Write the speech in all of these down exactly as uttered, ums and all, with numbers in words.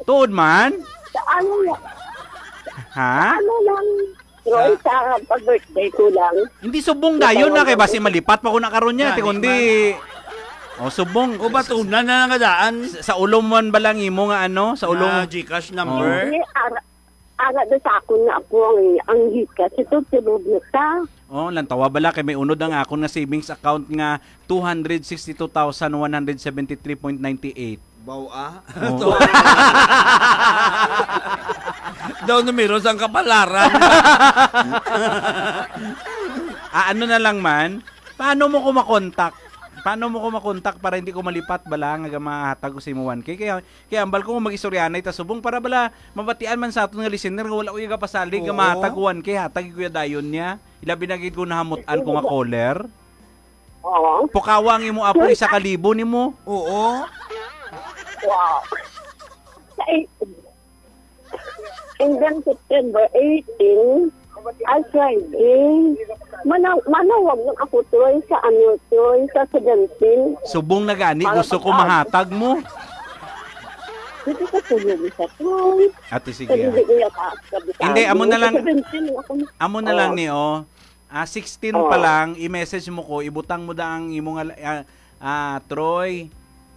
Tuod man? Sa ano lang, Ha? ano lang, Troy, Sa sa pag-birthday ko lang. Hindi subong Sa dayon na kay tawag basi lang. malipat pa ko na karon niya, Gani ti kundi man. Oh, subong. O, batunan na lang nga daan. Sa, sa ulo man ba lang imo nga ano? Sa ulo Na mo? GCash Oh. number? Hindi, ara, ara do sa akon nga ako ang, ang hikas. Ito, tulog na ta. Oh, lantawa bala kay may unod ang akon nga savings account nga two hundred sixty-two thousand one hundred seventy-three point ninety-eight. Baw, ah? Oh. To. Daw numero sang kapalaran. Ah, ano na lang man? Paano mo ko makontak? Paano mo ko makontak para hindi ko malipat bala nga mahatag ko sa imo one K? Kaya, kaya ambal ko nga mag-istoryanay ta subong para bala mabatian man sa aton nga listener nga wala ko yung kapasalig nga Oo. mahatag one K, hatag ko dayon niya. Ilabi na gid ko nahamutan ko nga caller. Oo. Pukawa ang imo apo, isa ka libo nimo. Oo. Wow. Sa eighteen. And then September eighteen, ay Friday. Manaw, manawag lang ako, Troy, sa ano, Troy, sa seventeen. Subong na gani, Para gusto ko pag-, mahatag mo. Dito sa tulog sa Troy. Ate, sige, Sa ah. hindi ko yata, sabi Hindi, sa amo amin, na lang, sa seventeen ako. Amo na lang Oh. ni, oh. Ah, sixteen pa Oh. lang, i-message mo ko, ibutang mo da ang imo nga, ah, ah, Troy,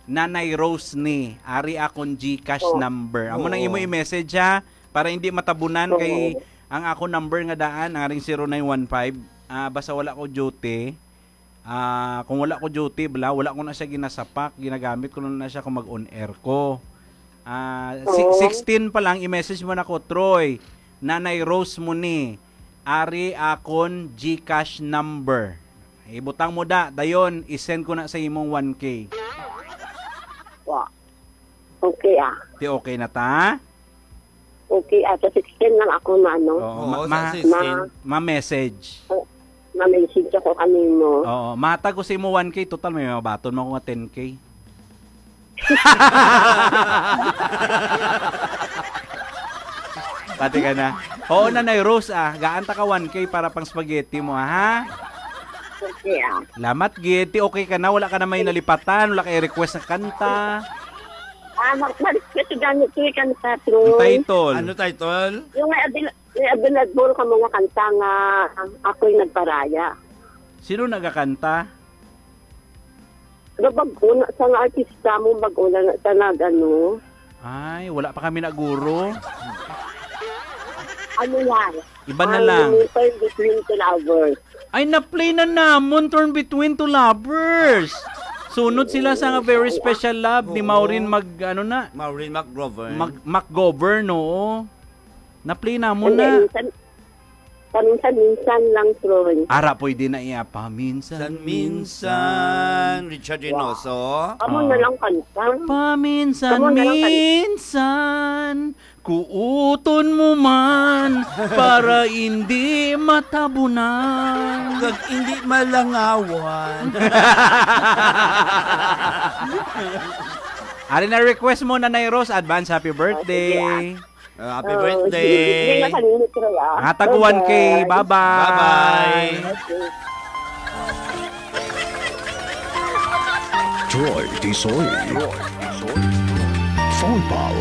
Nanay Rose ni, ari akon GCash Oh. number. Amo nang imo Oo. i-message, ha, para hindi matabunan kay Oo. ang akon number nga daan, aring zero nine one five. Ah, basta wala ko duty. Ah, kung wala ko duty, bala, wala ko na siya ginasapak, ginagamit ko na, na siya kung mag-on air ko. Ah, si-, Oo. sixteen pa lang, i-message mo na ko, "Troy, Nanay Rose mo ni, ari akon GCash number." Ibutang mo da, dayon, i-send ko na sa imong one K. Wa. Okay, ah. Ti okay na ta? Okay, ah, sa sixteen lang ako na, ano? Oo, Oo, ma-, sa ma-, sixteen. ma-message. Oh, ma-message ako kanimo. Oo, matag ko sa imo one K, total may mabaton mo ako nga ten K. Pati ka na. Oo, Nanay Rose, ah. Gaan ta ka one K para pang spaghetti mo, ha? Okay, ah. Lamat, gid. Ti okay ka na. Wala ka na may nalipatan. Wala kay request na kanta. Ah, mag-, mag-, kasi gamit ko yung kanta, Troy. Ang title? Ano title? Yung may abil-, may available ka mga kanta nga ako'y nagparaya. Sino nagakanta? Ano, bag-o na sa nga artista mo, bag-o na na sa nag-ano? Ay, wala pa kami na guro. Ano yan? Iba na Ang lang. Turn Between Two Lovers. Ay, na-play na namon, Turn Between Two Lovers. Sunod sila sa nga Very Special Love ni Oo. Maureen Mag-, ano na? Maureen McGovern. Mag-, McGovern, oo. Na-play namon Hindi, na. minsan, paminsan-minsan lang, Troy. Ara, pwede na iya. Paminsan-minsan. Minsan, Richard Reynoso. Amo na Oo. lang kanta. Amo na lang kanta. Paminsan-minsan, kuuton mo man para hindi matabunan. Kag hindi malangawan. Ari na request mo, Nanay Rose, advance happy birthday. Ah, sige, ah. Uh, happy Oh, birthday. Sige, sige, nakalimit ko na, ah. Hatag one K. Bye-bye. Bye-bye. Bye-bye. Okay. Troy Tisoy. Phone Pal.